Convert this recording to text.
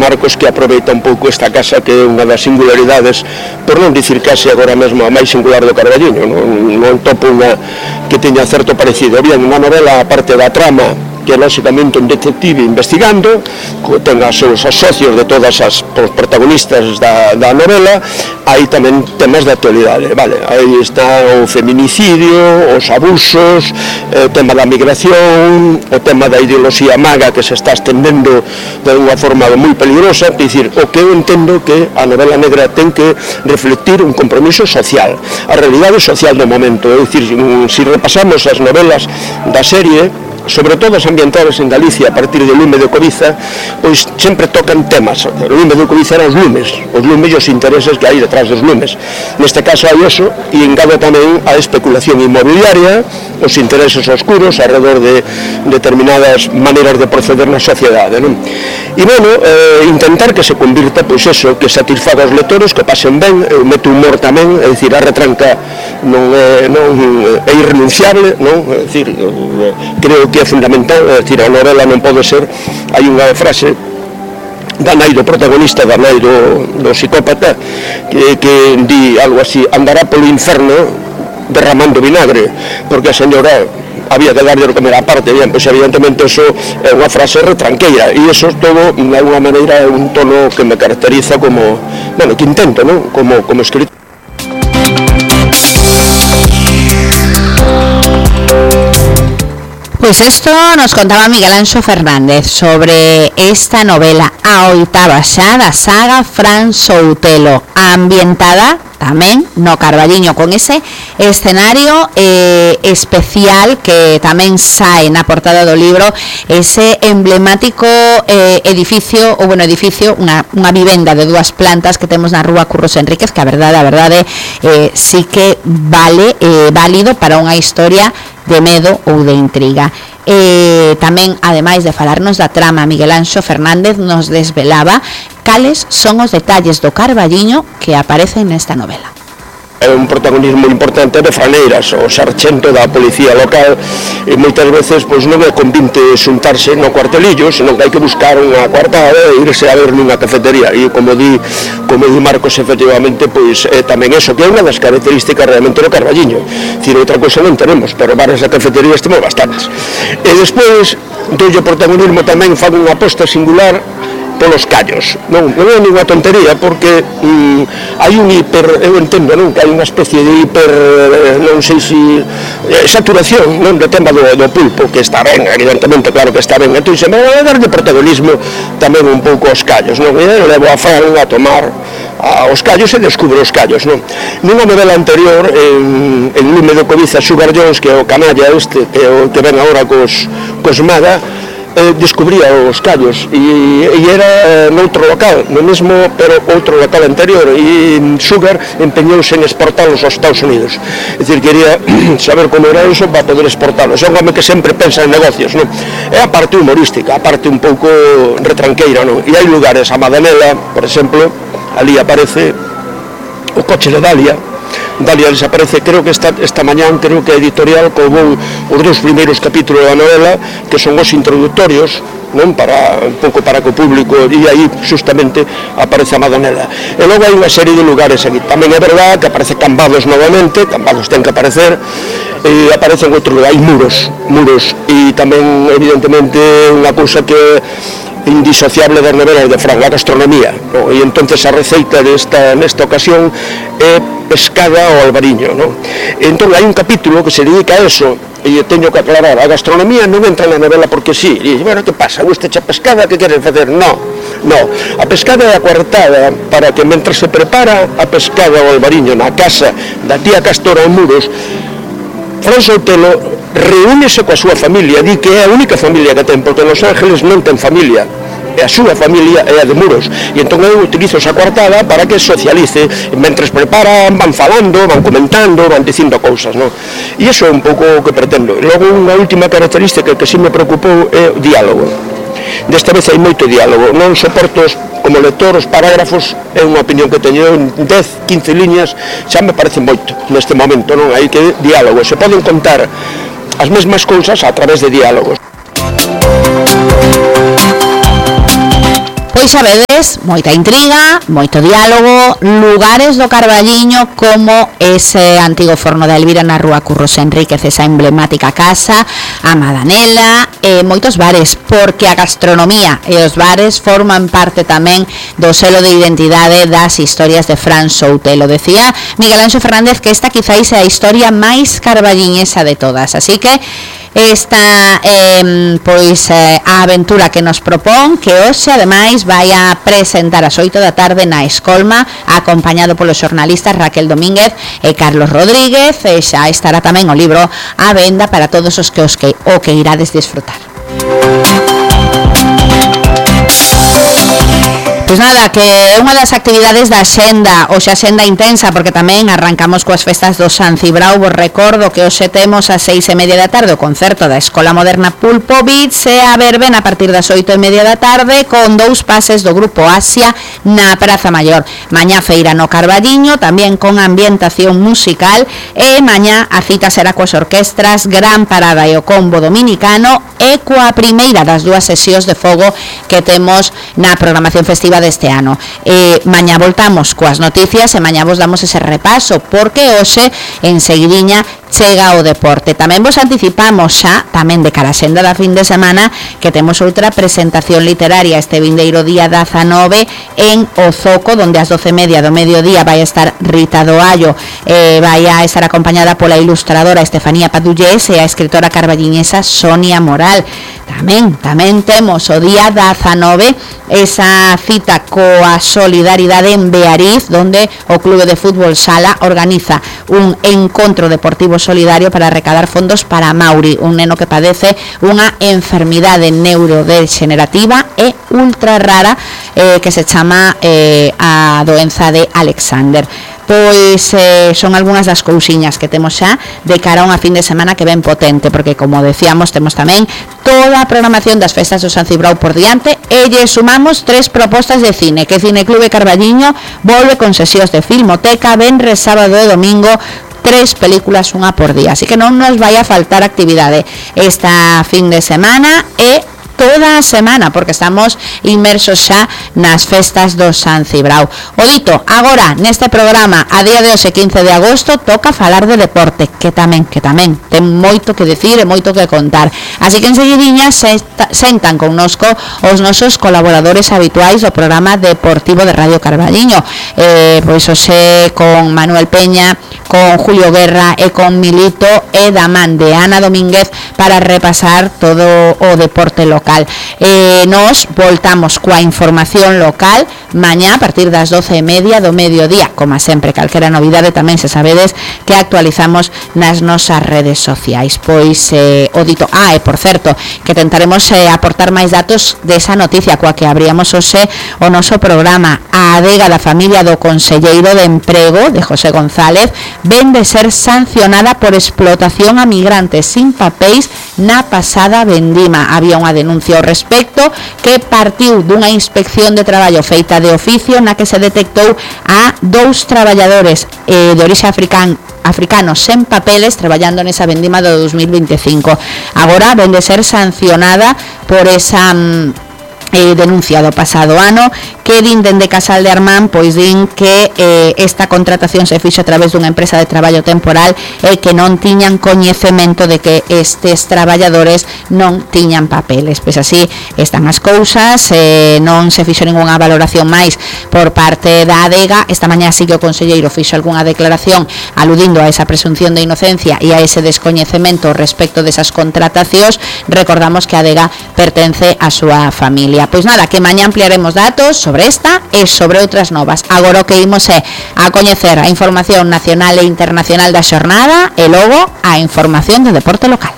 Marcos, que aproveita un pouco esta casa, que é unha das singularidades, por non dicir case agora mesmo a máis singular do Carballiño, non topo unha que teña certo parecido. Bien, unha novela, a parte da trama, que é lógicamente un detective investigando, ten os seus socios de todas as protagonistas da novela, hai tamén temas de actualidade, vale, aí está o feminicidio, os abusos, o tema da migración, o tema da ideoloxía maga que se está estendendo de unha forma moi peligrosa, é dicir, o que eu entendo que a novela negra ten que reflectir un compromiso social, a realidade social do momento, é dicir, se repasamos as novelas da serie, sobre todo as ambientadas en Galicia a partir do lume de Coviza, pois sempre tocan temas. O lume de Coviza eran os lumes e os intereses que hai detrás dos lumes. Neste caso hai eso, e engado tamén a especulación inmobiliaria, os intereses oscuros alrededor de determinadas maneiras de proceder na sociedade, non? E, bueno, intentar que se convirta, pois eso, que satisfaga os lectores, que pasen ben, mete humor tamén, é dicir, a retranca non é irrenunciable, non? É dicir, creo que é fundamental, é dicir, a novela non pode ser, hai unha frase da nai do protagonista, da nai do psicópata, que di algo así: andará polo inferno derramando vinagre, porque a señora había que darlle de comer a parte. Bien, pois evidentemente eso é unha frase retranqueira, e eso todo, de alguna maneira, é un tono que me caracteriza como, bueno, que intento, non? Como escritor. Pues esto nos contaba Miguel Anxo Fernández sobre esta novela, a oitava xa da saga Fran Soutelo, ambientada tamén no Carballiño, con ese escenario especial que tamén sae na portada do libro, ese emblemático edificio, unha vivenda de 2 plantas que temos na rúa Curros Enríquez, que a verdade sí que vale válido para unha historia de medo ou de intriga. Tamén, ademais de falarnos da trama, Miguel Anxo Fernández nos desvelaba cales son os detalles do Carballiño que aparecen nesta novela. É un protagonismo importante de Franeiras, o sarxento da policía local, e moitas veces pois non é convinte xuntarse no cuartelillo, senón que hai que buscar unha coartada e irse a ver nunha cafetería, e como di Marcos, efectivamente, pois tamén eso, que é unha das características realmente do Carballiño. Dicir, outra cousa non tenemos, pero bares e cafeterías temos bastantes. E despois, doulle protagonismo tamén, fan unha aposta singular polos callos. Non é ninguna tontería, porque hai un eu entendo, non, que hai unha especie de non sei se saturación, non, do tema do pulpo, que está ben, evidentemente, claro que está ben. Entón, se me vai a dar de protagonismo tamén un pouco aos callos, non? E levo a Fran a tomar os callos e descubre os callos, non? Nunha novela anterior, en Lume de Coviza, Sugar Jones, que é o canalla este, que é o que ven agora cos Maga, descubría os callos, e era noutro local, no mesmo, pero outro local anterior, e Sugar empeñouse en exportalos aos Estados Unidos. É dicir, quería saber como era eso para poder exportalos. É un home que sempre pensa en negocios, non? É a parte humorística, a parte un pouco retranqueira, non? E hai lugares, a Madanela, por exemplo, ali aparece o coche de Dalia desaparece, creo que esta mañán, creo que a editorial colgou os 2 primeiros capítulos da novela, que son os introductorios, non, para un pouco para que o público, e aí justamente aparece a Madonela. E logo hai unha serie de lugares aquí. Tamén é verdade que aparece Cambados novamente, Cambados ten que aparecer, e aparecen outros lugares, hai muros, e tamén evidentemente unha cousa que indisociable das novelas de Fran, a gastronomía, no? E entonces a receita nesta ocasión é pescada ao albariño, no? Entón hai un capítulo que se dedica a eso, e teño que aclarar, a gastronomía non entra na novela porque sí, e bueno, que pasa, gusta a pescada, que queres facer? No, a pescada é a coartada para que mentre se prepara a pescada ao albariño na casa da tía Castora en Muros, Fran Soutelo reúnese coa súa familia, di que é a única familia que ten, porque Los Ángeles non ten familia, e a súa familia é a de Muros, e entón eu utilizo esa coartada para que socialice, mentres preparan, van falando, van comentando, van dicindo cousas, non? E iso é un pouco o que pretendo. E logo unha última característica que sí me preocupou é o diálogo. Desta vez hai moito diálogo, non soporto como lector os parágrafos, é unha opinión que teño, en 10, 15 liñas xa me parece moito neste momento, non? Hai que diálogo, se poden contar as mesmas cousas a través de diálogos. Pois Pois sabedes, moita intriga, moito diálogo, lugares do Carballiño como ese antigo forno de Elvira na rúa Curros Enríquez, esa emblemática casa, a Madanela, moitos bares, porque a gastronomía e os bares forman parte tamén do selo de identidade das historias de Fran Soutelo. Decía Miguel Anxo Fernández que esta quizáis é a historia máis carballiñesa de todas, así que esta a aventura que nos propón, que hoxe ademais vai a presentar ás 8 da tarde na Escolma, acompañado polos xornalistas Raquel Domínguez e Carlos Rodríguez, e xa estará tamén o libro á venda para todos os que o que irades disfrutar. Pois nada, que unha das actividades da xenda, hoxe a xenda intensa, porque tamén arrancamos coas festas do San Cibrao. Vos recordo que hoxe temos a 6:30 da tarde o concerto da Escola Moderna Pulpovich e a verbena a partir das 8:30 da tarde con 2 pases do Grupo Asia na Praza Maior. Mañá feira no Carballiño, tamén con ambientación musical, e mañá a cita será coas orquestras Gran Parada e o Combo Dominicano e coa primeira das 2 sesións de fogo que temos na programación festiva deste ano. Mañá voltamos coas noticias e mañá vos damos ese repaso, porque hoxe en seguidiña chega o deporte. Tamén vos anticipamos xa, tamén de cara a xenda da fin de semana, que temos outra presentación literaria este vindeiro día 19 en O Zoco, donde ás 12:30 do mediodía vai a estar Rita do Allo, vai a estar acompañada pola ilustradora Estefanía Padullés e a escritora carballiñesa Sonia Moral. Tamén temos o día 19 esa cita coa solidaridade en Beariz, donde o Clube de Fútbol Sala organiza un encontro deportivo solidario para recadar fondos para Mauri, un neno que padece unha enfermidade neurodegenerativa e ultra rara que se chama a doenza de Alexander. Pois son algunhas das cousiñas que temos xa de cara a unha fin de semana que ven potente, porque como decíamos temos tamén toda a programación das festas do San Cibrao por diante e lle sumamos 3 propostas de cine, que Cineclube Carballiño volve con sesións de filmoteca, venres, sábado e domingo, 3 películas, unha por día, así que non nos vai a faltar actividade esta fin de semana e toda a semana, porque estamos inmersos xa nas festas do San Cibrao. O dito, agora, neste programa, a día de hoxe, 15 de agosto, toca falar de deporte, que tamén ten moito que decir e moito que contar. Así que enseguidiña sentan connosco os nosos colaboradores habituais do programa deportivo de Radio Carballiño. Pois hoxe con Manuel Peña, con Julio Guerra e con Milito e da man de Ana Domínguez para repasar todo o deporte local. Nos voltamos coa información local mañá a partir das 12:30 do mediodía, como sempre, calquera novidade tamén se sabedes que actualizamos nas nosas redes sociais. Pois o dito, e por certo, que tentaremos aportar máis datos desa noticia coa que abríamos hoxe o noso programa. A adega da familia do conselleiro de emprego de José González ven de ser sancionada por explotación a migrantes sin papéis na pasada vendima. Había unha denuncia ao respecto que partiu dunha inspección de traballo feita de oficio na que se detectou a 2 traballadores de orixe africanos sen papeles traballando nesa vendima do 2025. Agora ven de ser sancionada por esa denuncia do pasado ano, que din dende Casal de Armán, pois din que esta contratación se fixo a través dunha empresa de traballo temporal e que non tiñan coñecemento de que estes traballadores non tiñan papeles. Pois así están as cousas, non se fixo ningunha valoración máis por parte da adega. Esta mañá sí que o conselleiro fixo algunha declaración aludindo a esa presunción de inocencia e a ese descoñecemento respecto desas contratacións. Recordamos que a adega pertence á súa familia. Pois nada, que mañá ampliaremos datos sobre esta e sobre outras novas. Agora o que imos é a coñecer a información nacional e internacional da xornada e logo a información do deporte local.